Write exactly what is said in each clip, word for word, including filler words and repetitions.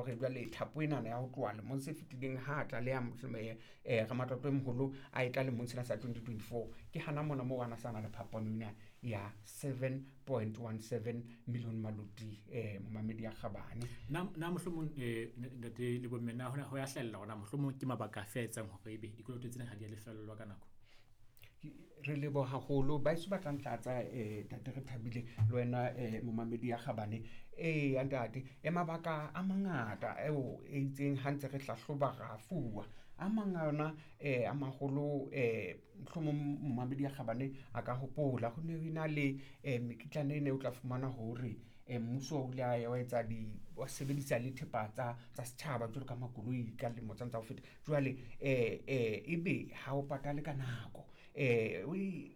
hore jwale thapo enana ya ho tloha lemong se fetileng ha tlaleha eh ramatlotlo e moholo a e tla lemong sena sa twenty twenty-four ke hana mona moo ana sana le phapano ena ya seven point one seven million maloti eh momamedi ya kgabane. Na na mohlomong eh ntate le bomme na hona ho ya hlella hona mohlomong ke mabaka a etsang hore ebe dikoloto tsena ha di a lefellwa ka nako? Re leboha haholo ba eso batlang tlatsa eh ntate re thabile le wena eh momamedi ya kgabane. Eh ntate e mabaka a mangata eo e itseng ha ntse re hlahloba ra fuwa a mang a yona eh a maholo eh mohlomong momamedi ya kgabane a ka hopola ho ne ho ena le eh mekitlane ene o tla fumana hore eh mmuso o ile a wa etsa di wa sebedisa le thepa tsa tsa setjhaba jwalo ka makoloi ka lemo tsa tsa ho feta. Jwale eh eh ebe ha o patale ka nako eh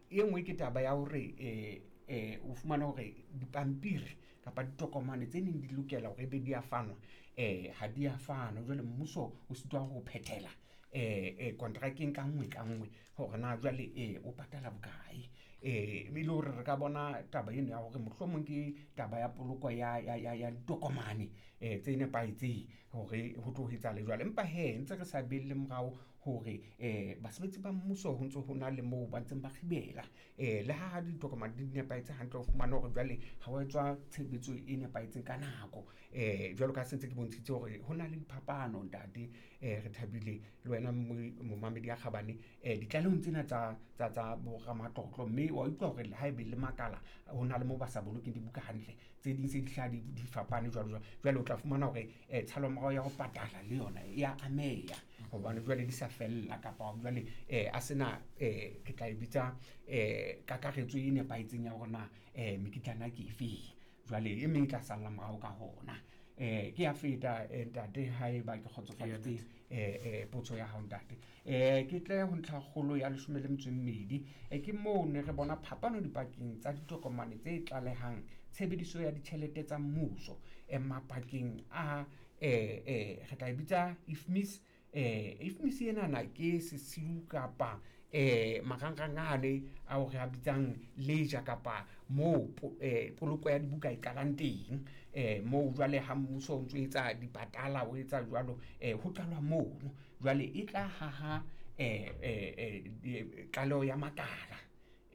e nngwe ke taba ya hore eh eh o fumana hore dipampiri kapa ditokomane tse neng di lokela hore ebe di a fanwa eh ha di a fanwa. Jwale mmuso o sitwa ho phethela eh eh kontrakeng ka nngwe ka nngwe hore na jwale eh o patala bokae. Eh e le hore re ka bona taba eno ya hore mohlomong ke taba ya poloko ya ya ya ya ditokomane eh tse nepahetseng hore ho tlo etsahala jwale. Empa he ntse re sa belle morao hore eh basebetsi ba mmuso ho ntso ho na le moo ba ntseng ba kgibela eh le ha ditokomane di nepahetse hantle o fumana hore jwale ha wa etswa tshebetso e nepahetseng ka nako. Eh jwalo ka se ntse ke bontshitse hore ho na le diphapano ntate eh re thabile le wena momamedi ya kgabane eh ditlalehong tsena tsa tsa tsa boramatlotlo, mme wa utlwa hore ha ebe le makala ho na le moo ba sa bolokeng dibuka hantle, tse ding se di hlaha di di fapane jwalo jwalo. Jwale o tla fumana hore eh tshalomorao ya ho patala le yona ya ameha hobane jwale di sa fella kapa jwale eh a sena eh ke tla e bitsa eh kakaretso e nepahetseng ya hore na eh mekitlana ke efe, jwale e meng e tla salla morao ka hona. Eh ke ya feta ntate haeba ke kgotsofaditse eh eh potso ya hao ntate. Eh ke tle ho ntlha kgolo ya leshome le metso e mmedi eh ke moo ne re bona phapano dipakeng tsa ditokomane tse tlalehang tshebediso ya ditjhelete tsa mmuso eh mapakeng a eh eh re tla e bitsa I F M I S. Eh I F M I S ena na ke sesiu kapa eh marangrang ale ao re a bitsang leja kapa moo eh poloko ya dibuka e qalang teng eh moo jwale ha mmuso o ntso etsa dipatala o etsa jwalo eh ho qalwa mono. Jwale e tla haha eh eh tlaleho ya makala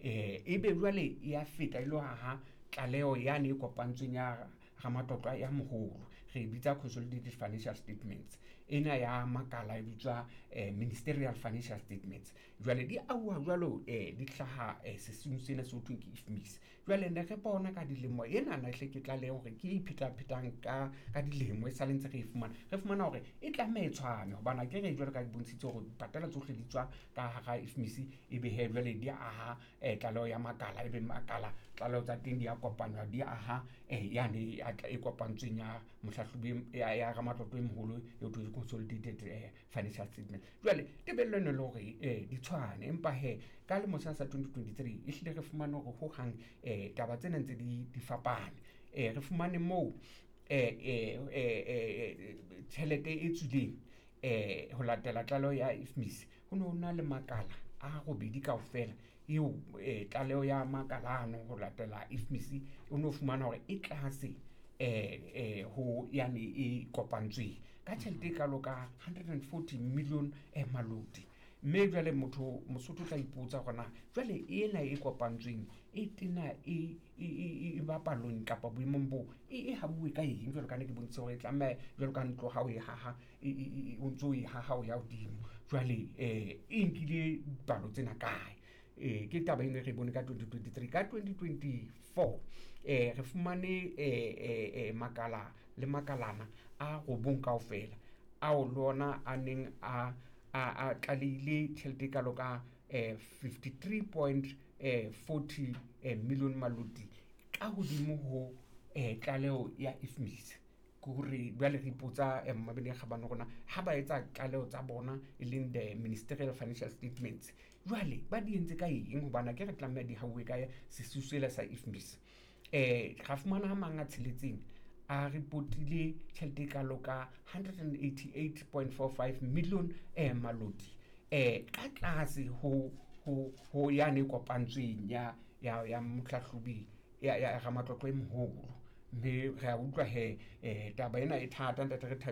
eh ebe jwale ya feta e lo haha tlaleho yane e kopantsweng ya ramatlotlo ya moholo re e bitsa consolidated financial statements, ena ya makala e bitswa eh, ministerial financial statements. Jwale di auwa jwalo eh, di hlaha eh, sesiung sena se ho thweng ke I F M I S. Jwale ne re bona ka dilemo ena na hle ke tlaleho hore ke e iphetaphetang ka ka dilemo e sale ntse re e fumana, re fumana hore e tlameha e tshwane hobane ha ke re jwalo ka di bontshitse hore dipatala tsohle di tswa ka hara I F M I S ebe he jwale di aha eh, tlaleho ya makala ebe makala tlaleho tsa teng di a kopanwa di aha eh, yane e kopantsweng ya mohlahlobi ya ya ramatlotlo e moholo e ho thweng consolidated eh, financial statement. Jwale tebello eno le hore eh, di tshwane, empa he ka lemo sena sa twenty twenty-three e hlile re fumane hore hohang eh, taba tsena ntse di di fapane. Eh, re fumane moo eh, eh, eh, tjhelete e tswileng eh, ho latela tlaleho ya I F M I S ho ne ho na le makala a robedi kaofela eo eh, tlaleho ya makala ano ho latela I F M I S o ne o fumana hore e tlase eh eh ho yane e kopantsweng ka tjhelete e kalo ka hundred and forty million eh maloti. Mme jwale motho Mosotho o tla ipotsa hore na jwale ena e kopantsweng e tena e e e e bapalong kapa boemong bo e e habuwe ka eng jwalo ka ne ke bontshitse hore e tlameha jwalo ka ntlo ha o e haha e e o ntso e haha o ya hodimo jwale eh e nkile dipalo tsena kae. Eh ke taba eno re bone ka twenty twenty-three. Ka twenty twenty-four eh re fumane eh eh makala le makalana a robong kaofela ao le ona a neng a a a tlalehile tjhelete e kalo ka eh fifty-three point forty million maloti ka hodimo ho eh tlaleho ya I F M I S. Ke hore jwale re ipotsa eh mmabedi ya kgabane rona ha ba etsa tlaleho tsa bona e leng the ministerial financial statements jwale ba di entse ka eng hobane ke re tlameha di hauwe ka sesiu sela sa I F M I S. Eh ra fumana ha mang a tsheletseng a reportile tjhelete e kalo ka hundred and eighty-eight point four five million eh maloti eh ka tlase ho ho ho yane kopantsweng ya ya ya mohlahlobi ya ya ramatlotlo e moholo. Mme re a utlwa he eh taba ena e thata ntate re